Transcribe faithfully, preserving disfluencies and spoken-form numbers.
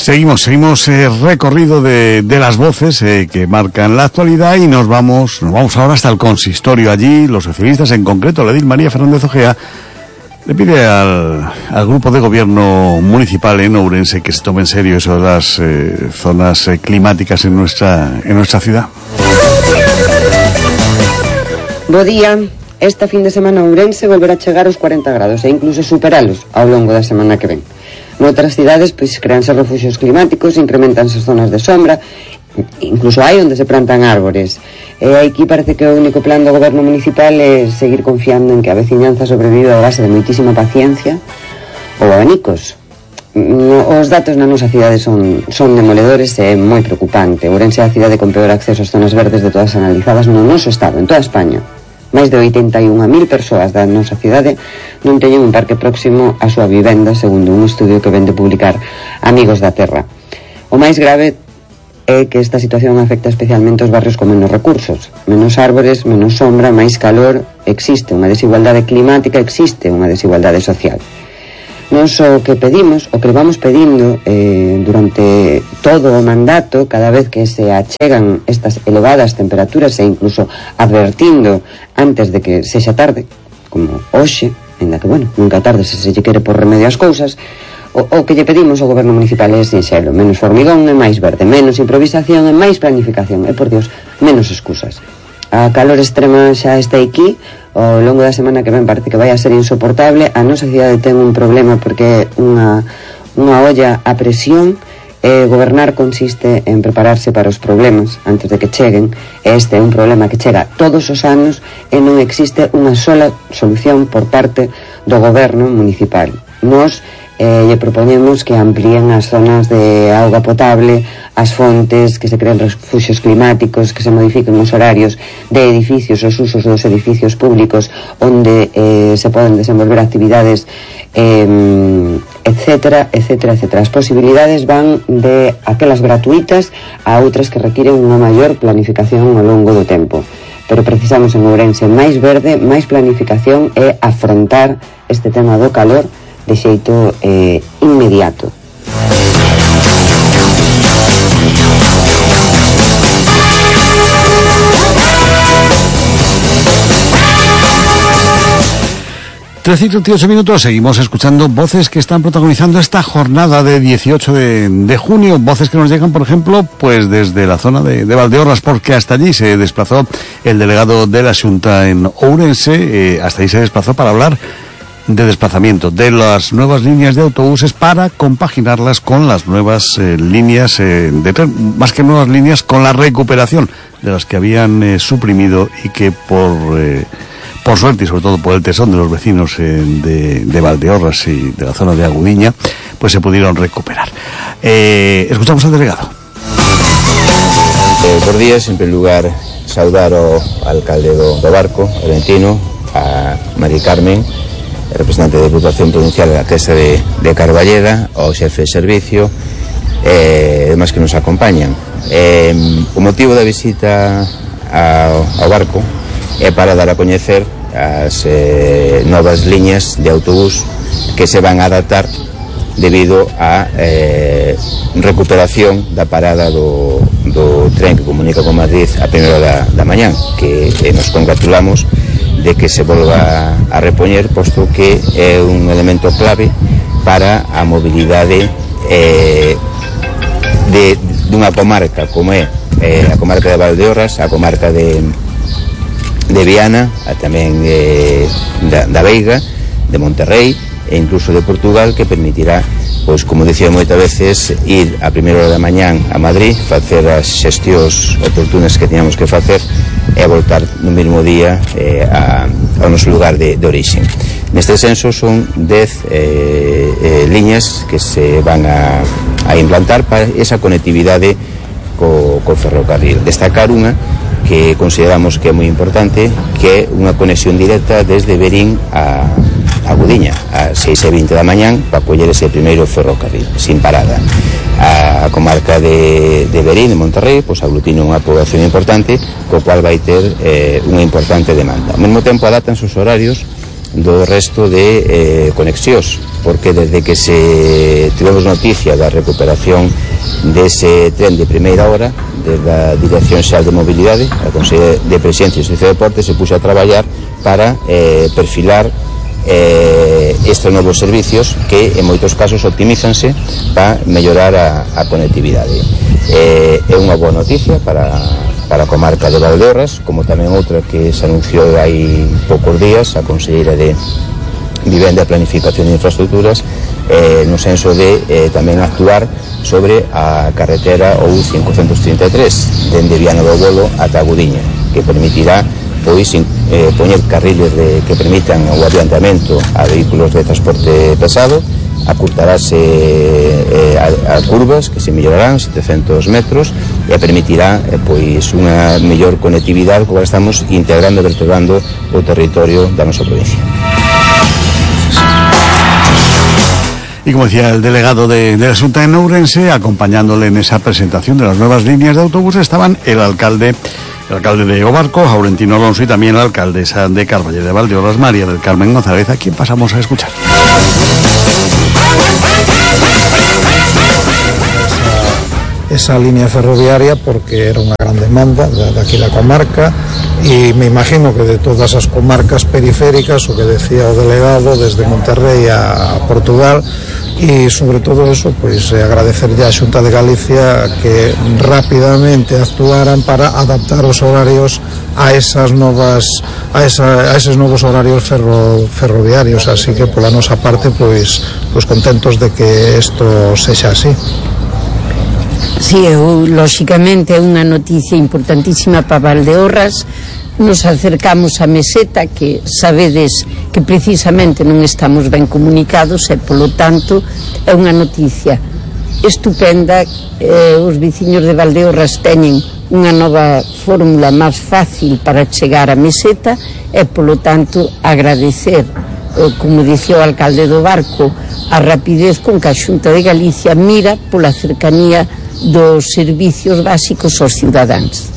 Seguimos, seguimos eh, recorrido de, de las voces eh, que marcan la actualidad y nos vamos, nos vamos ahora hasta el consistorio. Allí los socialistas, en concreto la edil María Fernández Ojea, le pide al, al grupo de gobierno municipal en Ourense que se tome en serio eso de las eh, zonas eh, climáticas en nuestra, en nuestra ciudad. Bo día. Esta fin de semana Ourense volverá a chegar aos cuarenta grados e incluso superalos ao longo da semana que ven. Noutras cidades, pois, creanse refugios climáticos, incrementanse as zonas de sombra, incluso hai onde se plantan árbores. E aquí parece que o único plan do goberno municipal é seguir confiando en que a veciñanza sobrevive a base de moitísima paciencia ou abanicos. Os datos na nosa cidade son, son demoledores e moi preocupante. Ourense é a cidade con peor acceso ás zonas verdes de todas analizadas no noso estado, en toda España. Máis de oitenta e unha mil persoas da nosa cidade non teñen un parque próximo á súa vivenda, segundo un estudio que ven de publicar Amigos da Terra. O máis grave é que esta situación afecta especialmente os barrios con menos recursos. Menos árbores, menos sombra, máis calor. Existe unha desigualdade climática, existe unha desigualdade social. Nos o que pedimos, o que vamos pedindo eh, durante todo o mandato, cada vez que se achegan estas elevadas temperaturas e incluso advertindo antes de que sexa tarde, como hoxe, ainda que, bueno, nunca tarde se se lle quere por remedio as cousas, o, o que lle pedimos ao goberno municipal é sinxelo: menos formigón e máis verde, menos improvisación e máis planificación, e, por Dios, menos excusas. A calor extrema xa está aquí. Ao longo da semana que ven parece que vai a ser insoportable. A nosa cidade ten un problema porque unha, unha olla a presión. E gobernar consiste en prepararse para os problemas antes de que cheguen. Este é un problema que chega todos os anos e non existe unha sola solución por parte do goberno municipal. Nos eh, lle propoñemos que amplíen as zonas de auga potable, as fontes, que se creen refugios climáticos, que se modifiquen os horarios de edificios, os usos dos edificios públicos onde eh, se poden desenvolver actividades, eh, etcétera, etcétera, etcétera. As posibilidades van de aquelas gratuitas a outras que requiren unha maior planificación ao longo do tempo. Pero precisamos en Ourense máis verde, máis planificación e afrontar este tema do calor de xeito eh, inmediato. trece y treinta y ocho minutos, seguimos escuchando voces que están protagonizando esta jornada de dieciocho de, de junio, voces que nos llegan, por ejemplo, pues desde la zona de, de Valdeorras, porque hasta allí se desplazó el delegado de la Xunta en Ourense, eh, hasta allí se desplazó para hablar de desplazamiento, de las nuevas líneas de autobuses para compaginarlas con las nuevas eh, líneas eh, de tren, más que nuevas líneas, con la recuperación de las que habían eh, suprimido y que por... Eh, por suerte y sobre todo por el tesón de los vecinos eh, de, de Valdeorras y de la zona de Agudiña, pues se pudieron recuperar. Eh, escuchamos al delegado. Eh, por días, en primer lugar, saudar ao alcalde do, do Barco, Valentino, a María Carmen, representante da Diputación Provincial da Casa de, de Carballeda, ao xefe de servicio, e eh, demais que nos acompañan. Eh, o motivo da visita ao, ao Barco é para dar a coñecer as eh, novas liñas de autobús que se van a adaptar debido a eh, recuperación da parada do, do tren que comunica con Madrid a primeira da, da mañán, que eh, nos congratulamos de que se volva a repoñer, posto que é un elemento clave para a mobilidade eh, de dunha comarca como é eh, a comarca de Valdeorras, a comarca de de Viana, a tamén eh, da, da Veiga, de Monterrey e incluso de Portugal, que permitirá, pois, como dicía moitas veces, ir a primeira hora da mañán a Madrid, facer as xestións oportunas que teníamos que facer e voltar no mesmo día eh, a, ao noso lugar de, de origen. Neste senso son dez eh, eh, liñas que se van a, a implantar para esa conectividade co, co ferrocarril. Destacar unha que consideramos que é moi importante, que é unha conexión directa desde Verín a Agudiña a seis e vinte da mañán para coller ese primeiro ferrocarril sin parada. A comarca de, de Verín, de Monterrey, pois aglutina unha población importante, co cual vai ter eh, unha importante demanda. Ao mesmo tempo adaptan os horarios do resto de eh, conexións, porque desde que se tivemos noticia da recuperación dese tren de primeira hora desde a Dirección Xeral de Mobilidade, a Consellería de Presidencia e Servicio de Deportes se puxe a traballar para eh, perfilar eh, estes novos servicios que en moitos casos optimízanse para mellorar a, a conectividade. Eh, é unha boa noticia para, para a comarca de Valdeorras, como tamén outra que se anunciou hai poucos días, a Conselleira de Vivenda e Planificación de Infraestructuras, eh, no senso de eh, tamén actuar sobre a carretera O U cincocentos trinta e tres dende Viana do Bolo ata Agudiña, que permitirá pois eh, poñer carriles de, que permitan o adiantamento a vehículos de transporte pesado, acurtarase eh, a, a curvas que se mellorarán setecientos metros e permitirá eh, pois unha mellor conectividade como estamos integrando e vertebrando o territorio da nosa provincia. Y como decía el delegado de, de la Xunta en Ourense, acompañándole en esa presentación de las nuevas líneas de autobús estaban el alcalde el alcalde de Obarco, Aurentino Alonso, y también la alcaldesa de Carballeda de Valdeorras, María del Carmen González, a quien pasamos a escuchar. Esa línea ferroviaria porque era unha gran demanda de, de aquí da comarca e me imagino que de todas as comarcas periféricas, o que decía o delegado, desde Monterrey a Portugal, e sobre todo eso, pois agradecerlle á Xunta de Galicia que rapidamente actuaran para adaptar os horarios a esas novas a, esa, a esos novos horarios ferro, ferroviarios, así que pola nosa parte pois, pois contentos de que isto sexa así. Si, sí, lóxicamente é unha noticia importantísima para Valdeorras. Nos acercamos a Meseta, que sabedes que precisamente non estamos ben comunicados e polo tanto é unha noticia estupenda. Eh, os veciños de Valdeorras teñen unha nova fórmula máis fácil para chegar a Meseta e polo tanto agradecer, eh, como dicía o alcalde do Barco, a rapidez con que a Xunta de Galicia mira pola cercanía dos servicios básicos aos cidadáns.